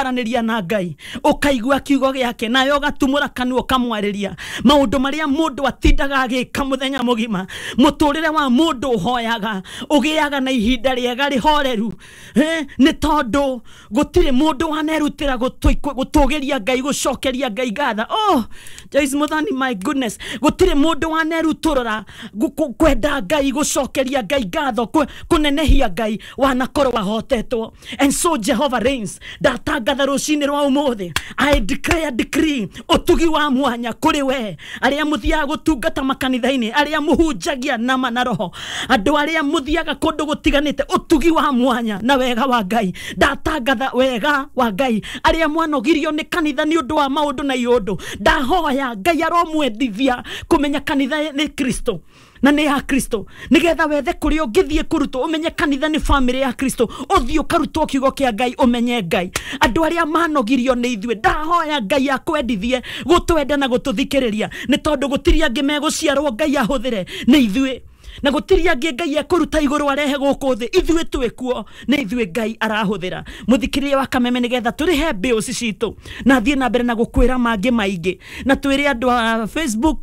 Kwaranĩria na Ngai ũkaigua kiugo gĩake, nawe ũgatumũra kanua ũkamwarĩria maũndũ marĩa mũndũ atindaga agĩka mũthenya mũgima. Mũtũrĩre wa mũndũ ũhoyaga ũgĩaga na ihinda rĩega rĩhoreru, nĩ tondũ gũtirĩ mũndũ wanerutĩra gũtũgĩria Ngai, gũcokeria Ngai ngatha. Oh, Joyce Muthoni, my goodness, gũtirĩ mũndũ wanerutũrũra kwenda Ngai, gũcokeria Ngai ngatho, kũnenehia Ngai wanakorwo ahotetwo. And so Jehovah reigns. Ndatangatha rũcinĩ rwa ũmũthĩ, I declare, decree ũtugi wa mwanya kũrĩ we, arĩa mũthiaga gũtungata makanitha-inĩ, arĩa mũhunjagia nama na roho, andũ arĩa mũthiaga kũndũ gũtiganĩte, ũtugi wa mwanya na wega wa Ngai. Ndatangatha wega wa Ngai. Arĩa mwanogirio nĩ kanitha nĩ ũndũ wa maũndũ na iũndũ, ndahoya Ngai aromwendithia kũmenya kanitha nĩ Kristo na nĩ ya Kristo, nigetha wethe kũrĩa ũngĩthiĩ kũrutwo, ũmenye kanitha nĩ famĩlĩ ya Kristo, ũthiĩ ũkarutwo kiugo kĩa Ngai, ũmenye Ngai. Andũ arĩa manogirio nĩ ithuĩ, ndahoya Ngai akwendithie gũtwenda na gũtũthikĩrĩria, nĩ tondũ gũtirĩ angĩ megũciarwo Ngai ahũthĩre, nĩ ithuĩ, na gũtirĩ angĩ Ngai ekũruta igũrũ arehe gũkũ thĩ, ithuĩ twĩkuo, nĩ ithuĩ Ngai arahũthĩra. Mũthikĩrĩria wa Kameme, nĩgetha tũrĩhe bills citũ na thiĩ na mbere na gũkwĩra mangĩ maingĩ, na twĩre andũ a Facebook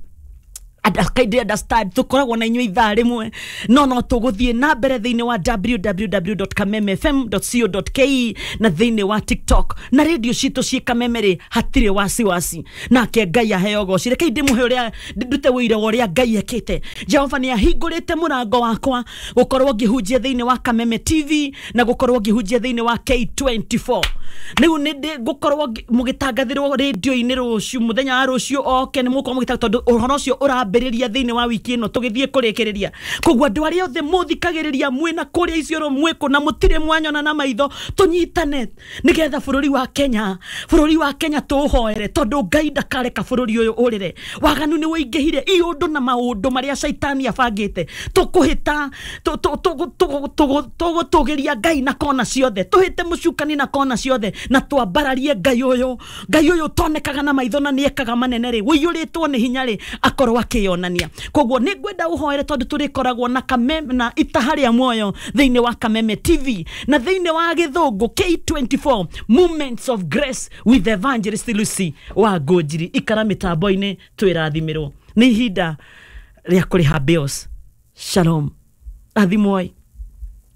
kindly understand tukoragwo na inyuĩ ithaa rĩmwe, no tũgũthiĩ na mbere thĩinĩ wa www.kamemefm.co.ke na thĩinĩ wa TikTok na radio citũ ciĩ Kameme rĩ, hatirĩ wasiwasi, nake Ngai aheo goci. Rekei ndĩmũhe ũrĩa ndute ũira wa ũrĩa Ngai ekĩte. Jehova nĩ ahingũrĩte mũrango wakwa gũkorwo ngĩhunjia thĩinĩ wa Kameme TV na gũkorwo ngĩhunjia thĩinĩ wa K24. Rĩu nĩ ngũkorwo mũgĩtangathĩrwo rĩndio-inĩ rũciũ, mũthenya wa rũciũ oke nĩ mũgũkorwo mũgĩtangathĩrwo, tondũ ũhoro ũcio ũrambĩrĩria thĩinĩ wa wiki ĩno tũgĩthiĩ kũrĩkĩrĩria. Koguo andũ arĩa othe mũthikagĩrĩria mwĩna kũrĩa Isiolo, mwĩkũ na mũtirĩ mwanyona na maitho, tũnyitane nĩgetha bũrũri wa Kenya, bũrũri wa Kenya tũũhoere, tondũ Ngai ndakareka bũrũri ũyũ ũrĩre. Waganu nĩ ũingĩhire, iũndũ na maũndũ marĩa caitani abangĩte, tũkũhĩta tũgũtũgĩria Ngai na kona ciothe, tũhĩte mũcukani na kona ciothe, na twambararie Ngai ũyũ, Ngai ũyũ ũtonekaga na maitho na nĩekaga manene rĩ, ũiyũrĩtwo nĩ hinya rĩ, akorwo akĩyonania. Koguo nĩ ngwenda ũhoere, tondũ tũrĩkoragwo na Kameme na itaha rĩa muoyo thĩinĩ wa Kameme TV na thĩinĩ wa gĩthũngũ K24, Moments of Grace with Evangelist Lucy wa Ngũnjiri. Ikara mĩtambo-inĩ, twĩrathimĩrwo. Nĩ ihinda rĩa kũrĩha bills. Shalom, rathimwoi,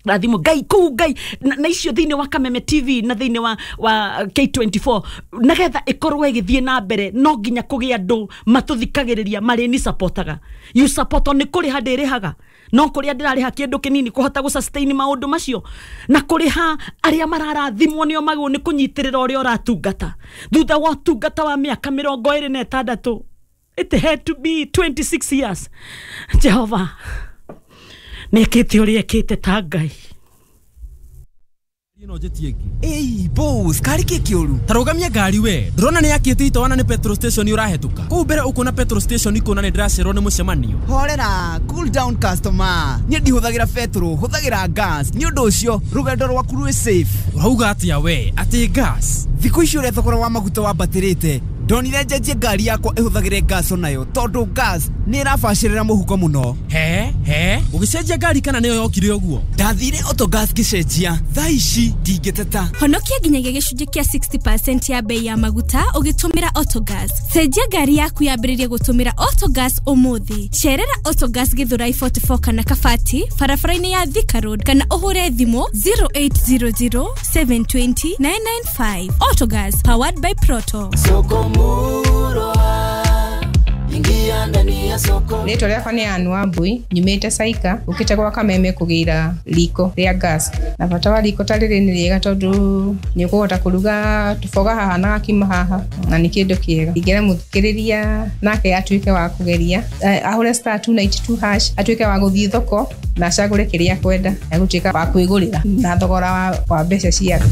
rathimo Ngai kũu Ngai na icio thĩinĩ wa Kameme TV na thĩinĩ wa K24, nagetha ĩkorwo ĩgĩthiĩ na mbere no nginya kũgĩa andũ matũthikagĩrĩria marĩ ni supportaga. You support nĩ kũrĩha ndĩrĩhaga, no kũrĩa ndĩrarĩha kĩndũ kĩnini kũhota gũ sustain maũndũ macio na kũrĩha arĩa mararathimwo nĩo magwo nĩ kũnyitĩrĩra ũrĩa ũratungata. Thutha wa ũtungata wa mĩaka 26, it had to be 26 years, Jehova nĩekĩte ũrĩa ekĩte ta Ngai. Ĩno njĩtie ĩngĩ. Ĩi boss, kari kĩ kĩũru? Tarũgamia ngari we, ndĩrona nĩ yakĩte itawa na nĩ petrol station ũrahetũka kũu mbere, ũkuona petrol station ikuona nĩ ndĩracererwo nĩ mũcemanio. Horera, cool down customer. Niĩ ndihũthagĩra petrol, hũthagĩra gas. Nĩ ũndũ ũcio rũgendo rwaku rwĩ safe. Ũrauga atĩa we? Atĩ gas? Thikũ ici ũrĩa thogora wa maguta wambatĩrĩte, ndonire njenjie ngari yakwa ĩhũthagĩre gas onayo, tondũ gas nĩ ĩrabacĩrĩra mũhuko mũno. He he, ũgĩcenjia ngari kana nĩyo yokire ũguo? Ndathire Autogas ngĩcenjia, thaa ici ndingĩteta. Honokia nginyagia gĩcunjĩ kĩa 60% ya bei ya maguta ũgĩtũmĩra Autogas. Cenjia ngari yaku yambĩrĩrie gũtũmĩra Autogas ũmũthĩ. Cerera Autogas Githurai 44 kana Kabati barabara-inĩ ya Thika Road, kana ũhũre thimũ 0800 720 995. Autogas, powered by Proto. Soko Murwa, ingia ndani ya soko. Rĩtwa rĩakwa nĩ Ann Wambui, nyumĩte Saika, ũkĩte gwa Kameme kũgĩra riko rĩa gas. Na bata wa riko ta rĩrĩ nĩ rĩega, tondũ nĩ ũkũhota kũruga tũboga haha na gakima haha, na nĩ kĩndũ kĩega. Ingĩra mũthikĩrĩria nake atuĩke wa kũgeria, ahũre *292# atuĩke wa gũthiĩ thoko na acagũre kĩrĩa akwenda, egũtuĩka wa kwĩgũrĩra na thogora wa mbeca ciake.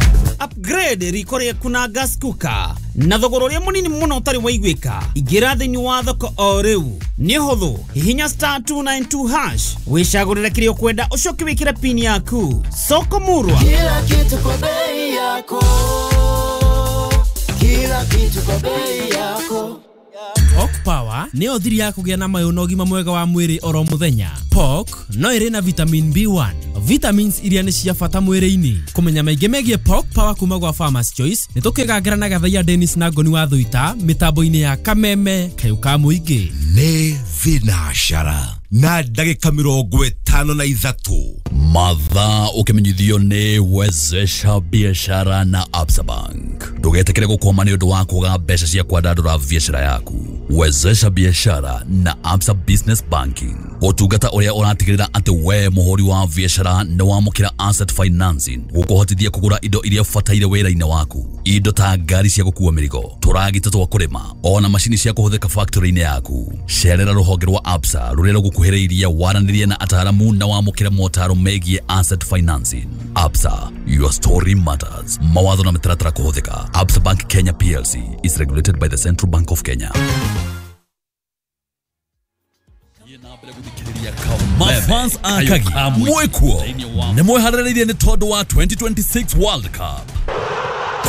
Upgrade riko rĩaku na gas cooker na thogora ũrĩa mũnini mũno ũtarĩ waiguĩka. Ingĩra thĩinĩ wa thoko o rĩu, nĩ ũhũthũ, hihinya *292# wĩcagũrĩre kĩrĩa ũkwenda, ũcoke wĩkĩre pin yaku. Soko Murwa, Kila kitu kwa bei yako. Kila kitu kwa bei yako. Talk Power nĩyo thiri ya kũgĩa na mayũ na ũgima mwega wa mwĩrĩ oro mũthenya. Pork no ĩrĩ na vitamin B1, vitamins iria nĩ cia bata mwĩrĩ-inĩ. Kũmenya maingĩ megiĩ Pork Power kuma gwa Farmers Choice nĩ tũkĩgangĩra na Gathaiya Dennis na Ngoni wa Thuita mĩtambo-inĩ ya Kameme kayũ ka mũingĩ. Nĩ thinacara na ndagĩka 53. Mathaa ũkĩmenyithio nĩ Wezesha Biashara na Absa Bank. Ndũgetĩkĩre gũkwama nĩ ũndũ wa kwaga mbeca cia kwandandũra biashara yaku. Wezesha Biashara na Absa Business Banking, ũtungata ũrĩa ũratigĩrĩra atĩ we mũhũri wa biashara nĩ wamũkĩra asset financing gũkũhotithia kũgũra indo iria ũbataire wĩra-inĩ waku, indo ta ngari cia gũkua mĩrigo, tũragita twa kũrĩma, ona macini cia kũhũthĩka factory-inĩ yaku. Cerera rũhonge rwa Absa rũrĩa rũgũkuhĩrĩirie, waranĩrie na ataaramu na wamũkĩre motaro megiĩ asset financing. Absa, your story matters. Mawatho na mĩtaratara kũhũthĩka. Absa Bank Kenya PLC is regulated by the Central Bank of Kenya. Mafans akagi mwekuo nĩ mweharĩrĩirie nĩ tondũ wa 2026 World Cup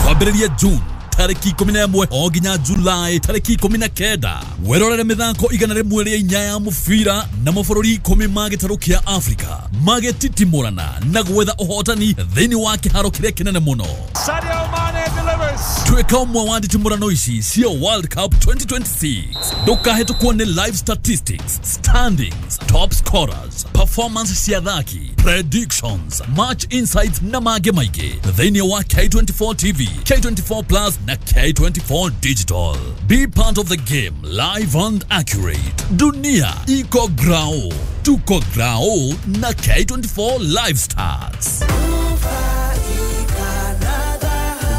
kwambĩrĩria June tarĩki 11 o nginya Julai tarĩki 19. Werorere mĩthako 104 ya mũbira na mabũrũri 10 ma gĩtarũ kĩa Afrika magĩtitimũrana na gwetha ũhotani thĩinĩ wa kĩharo kĩrĩa kĩnene mũno. Sadio Mane delivers. Tuĩka ũmwe wa nditimũrano ici cia World Cup 2026. Ndũkahĩtũkwo nĩ live statistics, standings, top scorers, performance cia athaki, predictions, match insights na mangĩ maingĩ thĩinĩ wa K24 TV, K24 Plus na K24 Digital. Be part of the game, live and accurate. Dunia iko grao, tuko grao na K24 Live Stars.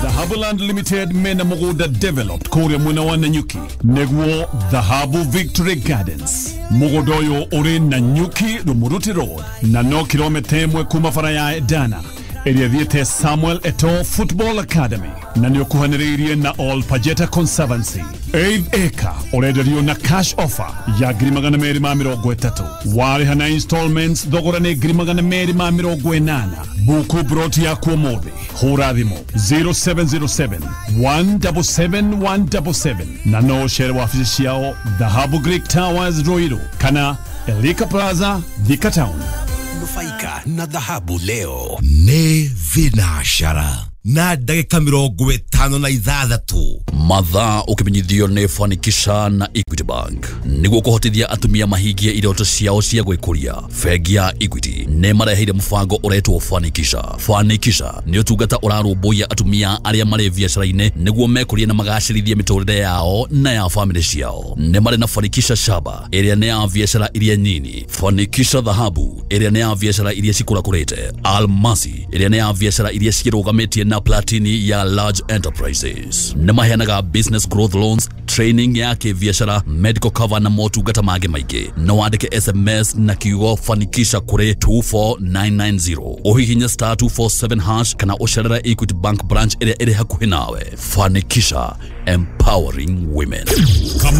Dhahabuland Limited mena mũgũnda developed kũrĩa mwena wa Nanyuki nĩguo Dhahabu Victory Gardens. Mũgũnda ũyũ ũrĩ Nanyuki Rumuruti Road na no kilomita 1 kuma bara ya Edana ĩrĩa ĩthiĩte Samuel Eto'o Football Academy na nĩ ũkuhanĩrĩirie na All Pajeta Conservancy. 8 acre ũrenderio na cash offer ya 230,000. Warĩha na installments thogora nĩ 280,000. Buku broti yaku ũmũthĩ, hũra thimũ 0707 177 177 na no ũcere wabici ciao Dhahabu Greek Towers Ruiru kana Elika Plaza Thika Town. Nufaika na dhahabu leo. Nĩ thinacara na ndagĩka 56. Mathaa ũkĩmenyithio nĩ Fanikisha na Equity Bank nĩguo kũhotithia atumia mahingie iroto ciao cia gwĩkũria. Bengi ya Equity nĩ mareheire mũbango ũretwo Fanikisha. Fanikisha nĩ ũtungata ũrarũmbũiya atumia arĩa marĩ biacara-inĩ nĩguo mekũrie na magacĩrithie mĩtũrĩre yao na ya famĩlĩ ciao. Nĩ marĩ na Fanikisha Shaba ĩrĩa nĩ ya biacara iria nyini, Fanikisha Dhahabu ĩrĩa nĩ ya biacara iria cikũrakũrĩte, Almasi ĩrĩa nĩ ya biacara iria cirũgamĩtie na Platini ya large enterprises. Nĩ maheanaga business growth loans, training ya kĩbiacara, medical cover na motungata mangĩ maingĩ. No wandĩke SMS na kiugo Fanikisha kũrĩ 24990, ũhihinye star 247 hash kana ũcerere Equity Bank branch ĩrĩa ĩrĩ hakuhĩ nawe. Fanikisha, empowering women.